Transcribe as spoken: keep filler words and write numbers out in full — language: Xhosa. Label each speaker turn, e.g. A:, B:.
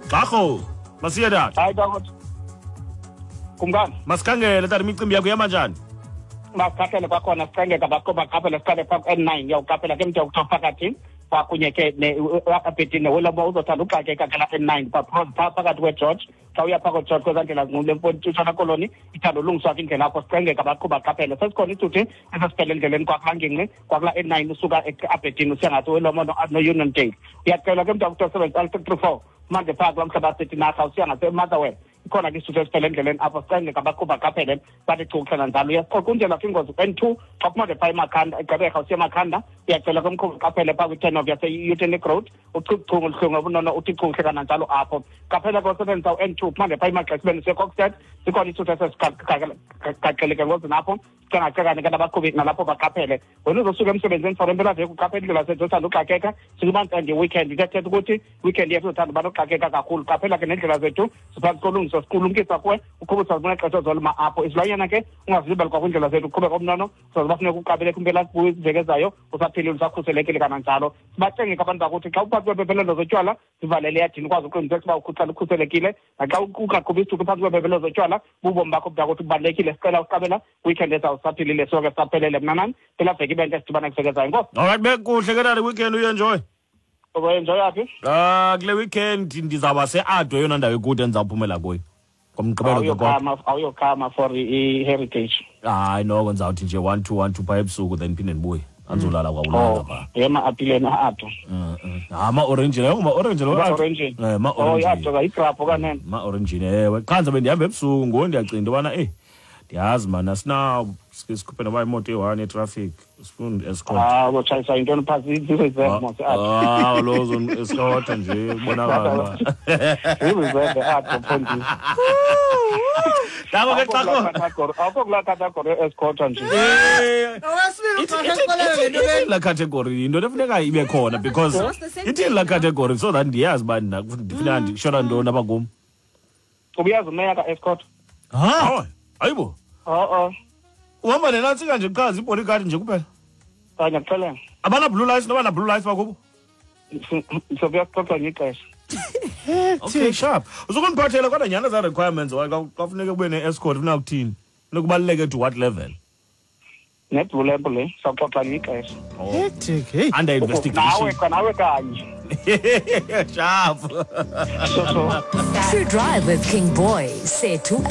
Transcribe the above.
A: Xarho, masiye tata.
B: Hayi tata. Kumkani.
A: Masikhangele tata, imicimbi yakho ihamba njani?
B: Masiqaphele kwakhona, sicengeka baqaphele, siqale phaa ku-N nine, uyawuqaphela ke mntu kuthiwa phakathi kwakunye ke abhedini neWilomo, uzothanda uxakeka ke la N nine phaa phakathi kweGeorge. Xa uya phaa koGeorge kwezaa ndlela zinqumle Ntshona Koloni, ithanda ulungiswa ke indlela apho, sicengeka baqhuba qaphelele. Sesikhona isithuthi esesiphele endleleni kwakulaa ngingqi kwakulaa N nine usuka eAberdeen usiya ngaseWilomo no-Union Dale. Uyacelwa ke mntu kuthiwa sebenzisa L three three four manje phaa kulaa mhlaba setinarha usiya ngaseMotherwell, ikhona ke isithuthi esiphele endleleni apho, sicengeka baqhuba qaphelele bathi chukuhlala njalo. Uyasiqoqunjelwa ke ingozi N two xa kumanje phaa eMakhanda, eGqeberha usiya eMakhanda, uyacela ke umqhubi qaphele phaa kwi-turn off yase-Utenik Road, uchukuchungu oluhlungu obunono uthi chukuhle kananjalo apho. Qaphela ke usebenzisa u-N two kumanje phaa eMagxesibeni usiya eKokstad, sikhona isithuthi esesigaxeleke ngozini apho, sicengacengane ke nabaqhubi nalapho baqaphele. Wena uzosuka emsebenzini for impelaveki, uqaphele indlela zethu othanda uxakeka, sikuba nge-weekend, ithetha ukuthi weekend yethu uzothanda uba noxakeka kakhulu. Qaphela ke nendlela zethu siphantsi kolungiso, sikulumkisa kuwe uqhuba usazibona ixesha ozolima apho. Izilwanyana ke ungazilibali kwakwindlela zethu, uqhubeka omnono usazoba funeka uqaphele kwimpelaveki ezayo, usaphilile usakhuselekile kananjalo. Sibacenge ke abantu bakuthi xa uphantsi kweempembelelo zotywala zivalele eyadini, ukwazi uqiniseka uba uhlala ukhuselekile, naxa ungaqhubi isithuthi phantsi kweempembelelo zotywala bubomi bakho mntakuthi kubalulekile. Sicela uqabela weekend ezayo usaphilile, sonke sisaphelele. Mna nani impelaveki ibe ntle, sidibana kuveki ezayo. Enkosi.
A: Alright, bekuhle ke tata, weekend uyenjoy.
B: Uzoyenjoy yaphi?
A: Ah, kule weekend ndizawuba se-Addo, eyona ndawo ekude endizawuphumela kuyo ngomgqibelo ke kodwa.
B: Awuyokhama, awuyokhama for i-heritage?
A: Hayi noko, ndizawuthi nje one two one two phaa ebusuku, then phinde ndibuye, andizolala kwakulala
B: Oh,
A: phaa.
B: Yema-apileni a-Addo.
A: Ha, ma-orange leyo, ma-orange lo.
B: Ma-orange.
A: Eh,
B: Oh,
A: ma-orange.
B: I-Addo yigrapho kanene.
A: Ma-orange, ewe. Qha ndizabe ndihamba ebusuku ngoku, ndiyacinga into yobana eyi, ndiyazi mani, asinawo sike sikhuphe noba imoto eyi-one yetraffic, sifuna escort.
B: Ah, uzotshayiswa yintoni phaa? Zii-reserve mos i-Addo.
A: Ah, lo uzon-escorta nje, kubonakala uba.
B: Zii-reserve e-Addo, mfondini.
A: Ngako ke xa
B: Awukho kulaa category escorta nje.
A: Eh,
C: Owesibili
A: ithi-
C: uxoxa
A: ithi-
C: exelele
A: ithi-
C: ngento le.
A: Ithini laa category? Yinto efuneka ibe khona because
D: It's the same
A: ithini
D: thing,
A: laa
D: no?
A: category so that ndiyazi uba ndina- ndifuneka ndishona ntoni apha kum.
B: Ubuyazi umeya ka-escort?
A: Ha, hayibo.
B: O-o.
A: Uhamba nenantsika nje qha, ziibodyguard nje kuphela.
B: Kanye kuxelele.
A: Abana-blue lights, noba na-blue lights bakubo?
B: Sobuya sixoxa ngexesha.
A: Okay, sharp. Uzukundiphathela kodwa nyhani ezaa requirements waye xa xa funeke kube ne-escort, funeka kuthini, funeka kubaluleke to what level?
B: Ne-blue lamp le, sawuxoxa ngexesha.
C: Hectic, hey.
A: Under
B: Nawe
A: investigation.
B: Nawe kanye.
A: Sharp.
B: So so.
E: True Drive with King Boy, Sethu.